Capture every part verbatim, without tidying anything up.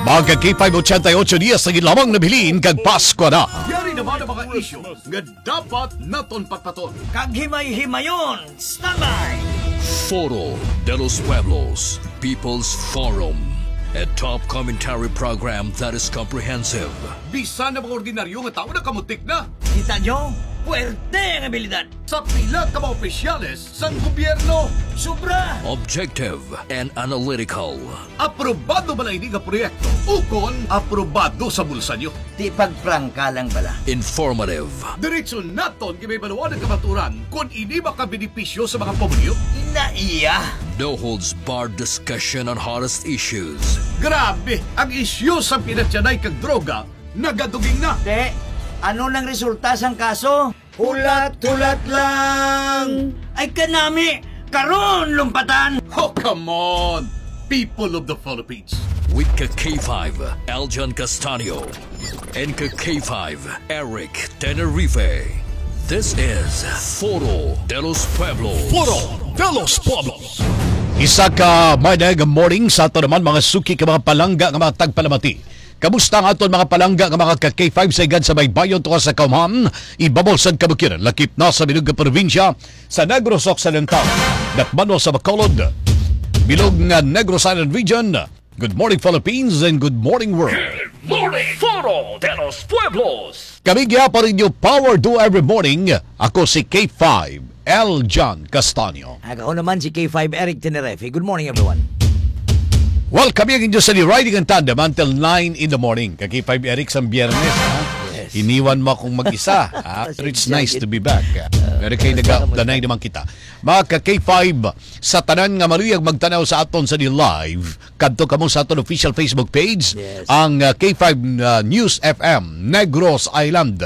Mga ka K five eighty-eight, diya sa lamang nabilin kag Pasko na. Yari naman ang mga isyu nga dapat naton patpaton. Kag himay-himayon, standby! Foro de los Pueblos, People's Forum, a top commentary program that is comprehensive. Bisan na mga ordinaryo nga tao nakamutik na. Kita nyo? Puwerte ang abilidad. Sa pila ka mga opisyales sang gobyerno. Sobra! Objective and analytical. Aprobado bala ini nga proyekto ukon aprobado sa bulsa nyo? Di pagprangka lang bala. Informative. Diretso naton gibaybaluan ang kamaturan kon ini makabenepisyo sa mga pamilyo. Ina iya. No holds barred discussion on hottest issues. Grabe, ang isyu sa pinatyanay kag droga nagaduging na. Te, ano nang resulta sang kaso? Hulat-hulat lang. Ay kanami, karon lumpatan. Oh, come on, people of the Philippines. With ka K five, Aljan Castaño, and ka K five, Eric Tenerife. This is Foro de los Pueblos. Foro de los Pueblos. Isa ka maayong morning sa ato naman, mga suki, ka mga palangga nga mga tagpalamati. Kamusta ang aton mga palangga nga mga ka K five sa higad sa baybayon, tuwa sa kaumhan, ibabaw sang kabukidnon, lakip na sa bilog nga probinsya sa Negros Occidental, dakbanon sa Bacolod, bilog nga Negros Island Region? Good morning, Philippines, and good morning, world. Good morning, Foro de los Pueblos. Kami gihapon ninyo, Power Do Every Morning. Ako si K five, L John Castaño. Ag ako naman si K five Eric Tenerife. Good morning, everyone. Well, kami ang inyo sa riding and tandem until nine in the morning. Ka K five Eric, sang Biyernes, ha? Yes. Iniwan mo akong mag-isa, ha? Pero it's Pasensya nice gid. to be back. Ah, Pero kay kamusta, kamusta? nag-updanay naman kita. Mga ka K five, sa tanan nga maluyag magtanaw sa aton sa di live, kadto kamo sa aton official Facebook page, Yes. ang, ah, K five, ah, News F M Negros Island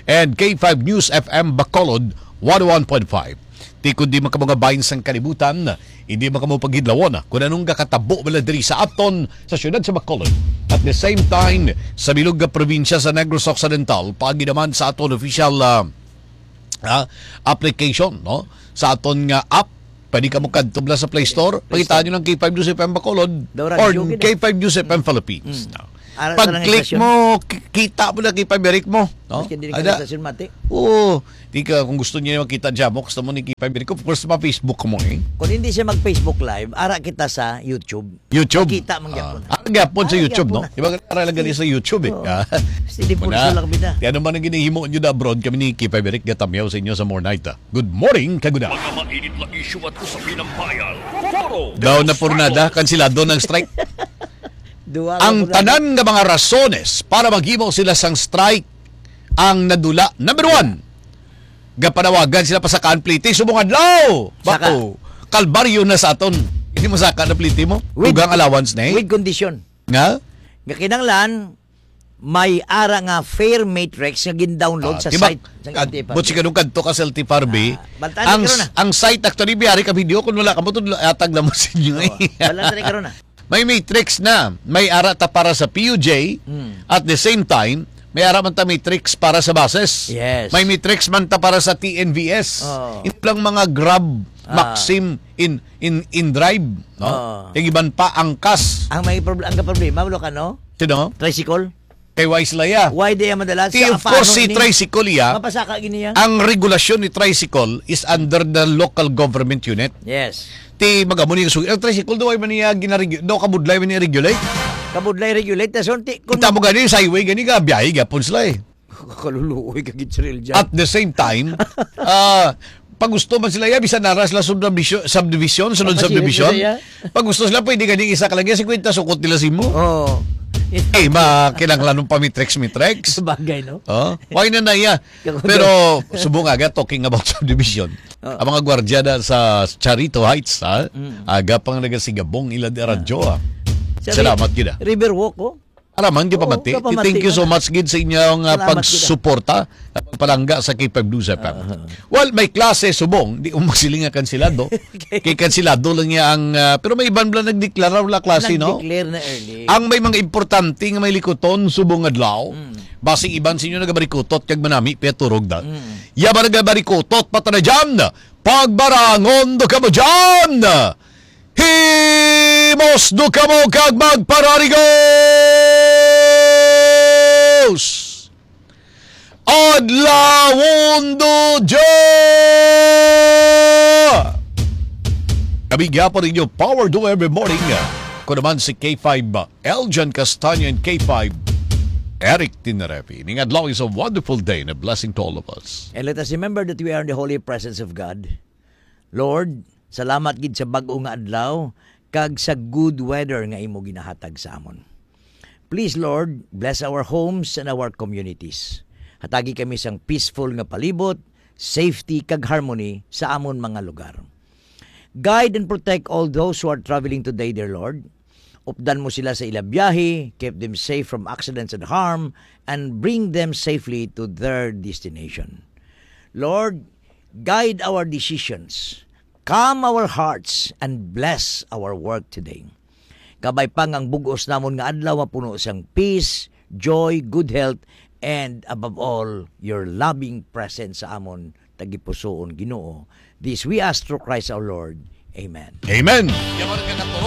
and K five News F M Bacolod one oh one point five. Ti kundi man kamo nga bahin sang kalibutan, hindi man kamo pagidlawon kon anong gakatabo bala diri sa aton sa siyudad sa Bacolod. At the same time, sa bilog nga probinsya sa Negros Occidental, paagi naman sa aton official, ah, ah, application, no? Sa aton nga app, pwede kamo kadto bala sa Play Store, Play Store. Pangitaan nyo ng K five News F M Bacolod Daw or radyo gid, ah. K five News F M Philippines, Mm. no? Ara sa Pag-click nang estasyon. mo, ki-, kita mo na K five Eric mo, no? Maski hindi ka Ada. sa estasyon, mati. Oo. Di ka, kung gusto niyo makita dyan mo, gusto mo ni K five Eric, of course, ma-Facebook mo, eh. Kung hindi siya mag-Facebook Live, ara kita sa YouTube. YouTube. Kita man Ah, gyapon. Ara gyapon sa Ah, YouTube, gyapon no? na. Di ba, ara lang gali sa YouTube, eh. Oo. Ah. Steady Muna, pulso lang, bida. Kaya naman ang ginihimo nyo na abroad, kami ni K five Eric gatamyaw sa inyo sa More Night, ah. Good morning, kaguna. Mga mainit na isyu at usapin ng bayan. Foro de Daw los na purnada, Pueblos. Kansilado ng strike. Duha ka Ang purnada. tanan nga mga rasones para maghimo sila sang strike ang nadula. Number one, gapanawagan sila pasakaan pliti subong adlaw. Saka. Bako, kalbaryo na sa aton. Hindi mo saka na pliti mo. With, Dugang allowance na eh. with condition. Nga? Nga kinahanglan, may ara nga fare matrix nga gin-download Ah, sa tibak, site sa ah, L T F R B. But si kanong kadto ka sa L T F R B, Ah, baltaan ang, ni karon na. ang site actually, biyari ka video, kung wala ka mo, tudlo, atag na mo sa inyo, Oo, eh. Balatan ni karon na. May matrix na. May ara ta para sa P U J. Mm. At the same time, may ara man ta matrix para sa buses. Yes. May matrix man ta para sa T N V S. Oo. Ito lang mga Grab, Ah. Maxim, in, in, in drive, no? Oo. Yung iban pa, angkas. Ang may proble-, ang problema, wala ka, no? Sino? Tricycle? Kay Wise Laya. Why di yan madala? Ti, Sa of course, paano si ni tricycle, iya. Mapasaka gini yan? Ang regulasyon ni tricycle is under the local government unit. Yes. Ti, mag-amo ni yung sugi. Ang tricycle, daw ay man niya ginaregyo-, daw kabudlay man niya regulate. Kabudlay regulate, tas yun, ti, kung Kita mo gani, sa highway gani ka, biyahe, gapon sila eh. Kaluluoy ka, gid, Sir Eljan. At the same time, ah, pag gusto man sila, ya, bisan nara sila subdivision, subdivision, sunod Kapag subdivision, sila, ya. Pag gusto sila, pwede gani isa ka lang, ya, singkwenta sukot nila sa imo. Oo. Eh, ma, kinahanglan ng pamitrex-mitrex. Sabagay, no? Oh, why na na, ya? Kakundo. Pero, subo nga, ga, talking about subdivision. Oh. Ang mga gwardiya na sa Charito Heights, ha? Mm. Aga pang nagasigabong ila di radyo, ah. Sa Salamat, Ri-, gid, ah. Riverwalk, oh. Araman, di Oo, pamati. Kapamati Thank you so na. much, gid, sa inyong, ah, Salamat, gid, ah. pagsuporta at pagpalangga sa K five News F M. Aha. Well, may klase subong, di ko magsiling nga kansilado. Kay kansilado lang niya ang, ah, pero may iban lang nagdeklara, wala klase, no? Nag-declare na early. Ang may mga importante nga may likuton, subong adlaw. Mm. Basi iban sa inyo nagabarikutot kag manami, piaturog na. Mm. Yaba nagabarikutot, pata na dyan. Pagbarangon do kamo dyan. Himos do kamo kag magpararigo. Adlawon Dodja! Kami gyapon ninyo, Power to Every Morning. Ako naman si K five, Eljan Castaño, and K five, Eric Tinarepi. Ning adlaw is a wonderful day and a blessing to all of us. And let us remember that we are in the holy presence of God. Lord, salamat gid sa bag-o nga adlaw kag sa good weather nga imo ginahatag sa amon. Please, Lord, bless our homes and our communities. Hatagi kami sang peaceful nga palibot, safety kag harmony sa amon mga lugar. Guide and protect all those who are traveling today, dear Lord. Updan mo sila sa ila biyahe, keep them safe from accidents and harm, and bring them safely to their destination. Lord, guide our decisions, calm our hearts, and bless our work today. Kabay pa nga ang bug-os namon nga adlaw mapuno sang peace, joy, good health, and above all, your loving presence sa amon tagipusoon, Ginoo. This we ask through Christ our Lord. Amen. Amen.